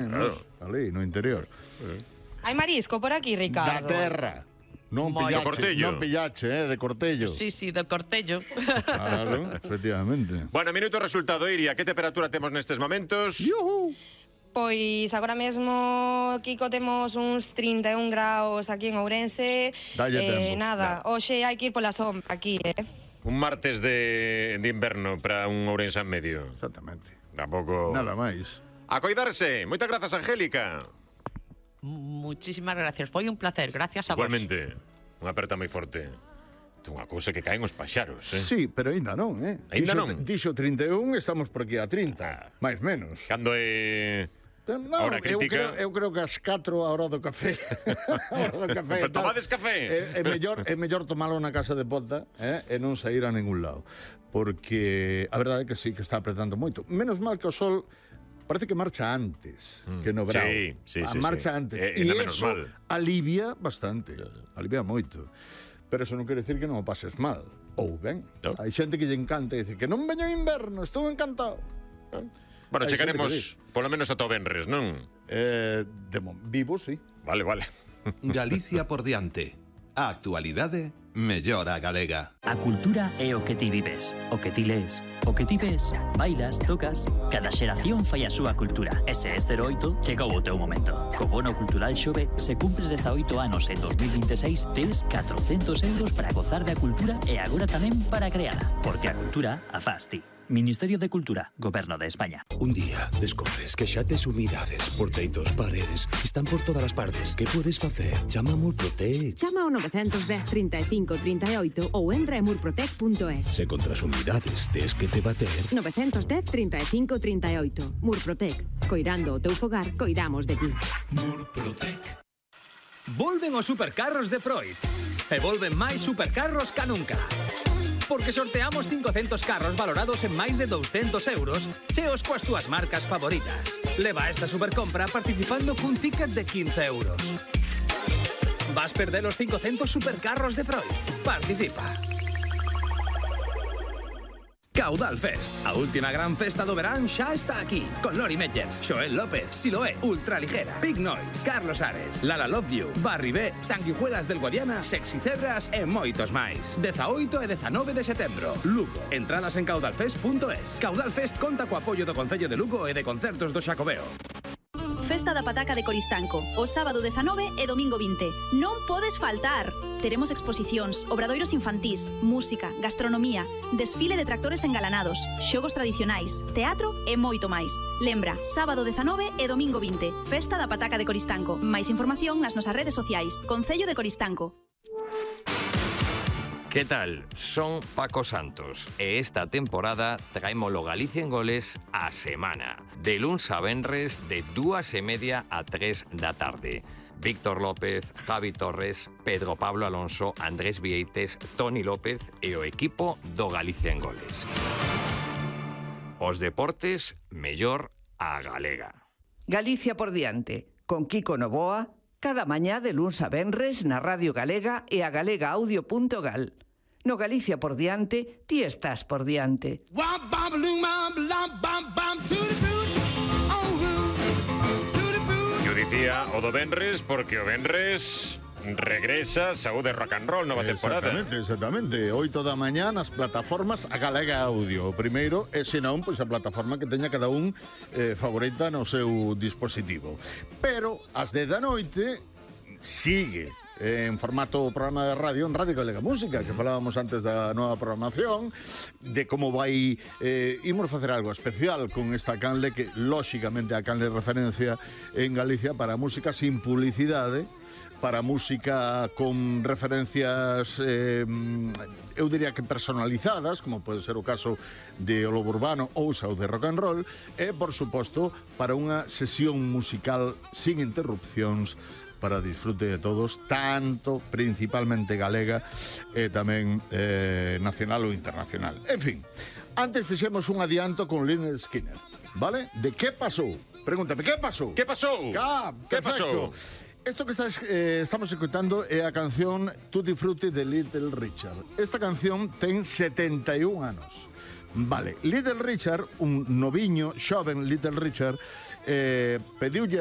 Claro. Ali, no interior. Hai marisco por aquí, Da Ricardo? terra. Non Moi pillache, de Cortello. Sí, de Cortello. Claro, efectivamente. Bueno, minuto resultado, Iria. Que temperatura temos nestes momentos? Yuhu. Pois agora mesmo, Kiko, temos uns 31 graus aquí en Ourense. Dalle tempo. Nada, hoxe hai que ir pola sombra aquí, Un martes de inverno para un Ourense en medio. Exactamente. Tampouco... Nada máis. A coidarse. Moitas grazas, Angélica. Muchísimas gracias, foi un placer, gracias a vos. Igualmente. Unha aperta moi forte. É unha cousa que caen os paxaros, Sí, pero ainda non, Aínda non? Dixo 31, estamos por aquí a 30, máis menos. Cando é... Non, Hora crítica. eu creo que as 4 a hora do café. A hora do café. Pero tomades café? É mellor tomalo na casa de ponta, e non sair a ningún lado. Porque a verdade é que sí, que está apretando moito. Menos mal que o sol parece que marcha antes que no verão. Sí. Marcha antes. E menos eso mal. alivia bastante. Alivia moito. Pero eso non quere decir que non o pases mal. Ou ben. No. Hai xente que lle encanta e dice que non veña o inverno, estou encantado. Bueno, Hai xente chegaremos polo menos ata o venres, non? Vivo, sí. Vale. Galicia por diante. A actualidade mellora galega. A cultura é o que ti vives, o que ti lees, o que ti ves, bailas, tocas. Cada xeración fai a súa cultura. E se este 08, chegou o teu momento. Co bono cultural Xove, se cumpres 18 anos en 2026, tes 400 euros para gozar da cultura e agora tamén para creala. Porque a cultura a faz ti. Ministerio de Cultura, Goberno de España. Un día descobres que xa tes humidades, porteitos, paredes, están por todas as partes. Que podes facer? Chama a Murprotec. Chama ao 910 35 38 ou entra en murprotec.es. Se contra as humidades tes que te bater. 910 35 38. Murprotec. Coirando o teu fogar, coidamos de ti. Murprotec. Volven os supercarros de Freud. E volven máis supercarros ca nunca. Porque sorteamos 500 carros valorados en máis de 200 euros, cheos coas túas marcas favoritas. Leva esta supercompra participando cun ticket de 15 euros. Vas perder os 500 supercarros de Freud. Participa. Caudal Fest, a última gran festa do verán xa está aquí, con Lori Meyers, Xoel López, Siloé, Ultraligera, Big Noise, Carlos Ares, Lala Love You, Barry B, Sanguijuelas del Guadiana, Sexy Cebras e moitos máis. 18 e 19 de setembro, Lugo. Entradas en caudalfest.es. Caudal Fest conta co apoio do Concello de Lugo e de Concertos do Xacobeo. Festa da Pataca de Coristanco, o sábado 19 e domingo 20. Non podes faltar! Teremos exposicións, obradoiros infantís, música, gastronomía, desfile de tractores engalanados, xogos tradicionais, teatro e moito máis. Lembra, sábado 19 e domingo 20. Festa da Pataca de Coristanco. Máis información nas nosas redes sociais. Concello de Coristanco. ¿Qué tal? Son Paco Santos e esta temporada traémolo Galicia en Goles a semana. De luns a venres de 2:30 a 3 da tarde. Víctor López, Javi Torres, Pedro Pablo Alonso, Andrés Vieites, Toni López e o equipo do Galicia en Goles. Os deportes mellor a galega. Galicia por diante, con Kiko Novoa, cada mañá de luns a venres na Radio Galega e a galegaaudio.gal. No Galicia por diante, ti estás por diante. Eu dicía o do venres porque o venres regresa Saúde Rock and Roll, nova temporada. Exactamente. 8 da mañá nas plataformas a Galega Audio. O primeiro é, senón, pois a plataforma que teña cada un favorita no seu dispositivo. Pero, ás 10 da noite, sigue en formato programa de radio en Radio Galega Música, que falábamos antes da nova programación, de como vai imos facer algo especial con esta canle que, lóxicamente, a canle referencia en Galicia para música sin publicidade, para música con referencias eu diría que personalizadas, como pode ser o caso de O Lobo Urbano ou Saúde Rock and Roll, e, por suposto, para unha sesión musical sin interrupcións para disfrute de todos, tanto principalmente galega e tamén nacional ou internacional. En fin, antes fixemos un adianto con Lynyrd Skynyrd, vale? De que pasou? Pregúntame, que pasou? Que pasou? Que pasou? Esto que estamos escutando é a canción Tutti Frutti de Little Richard. Esta canción ten 71 anos. Vale, Little Richard, un noviño, xoven Little Richard, pediulle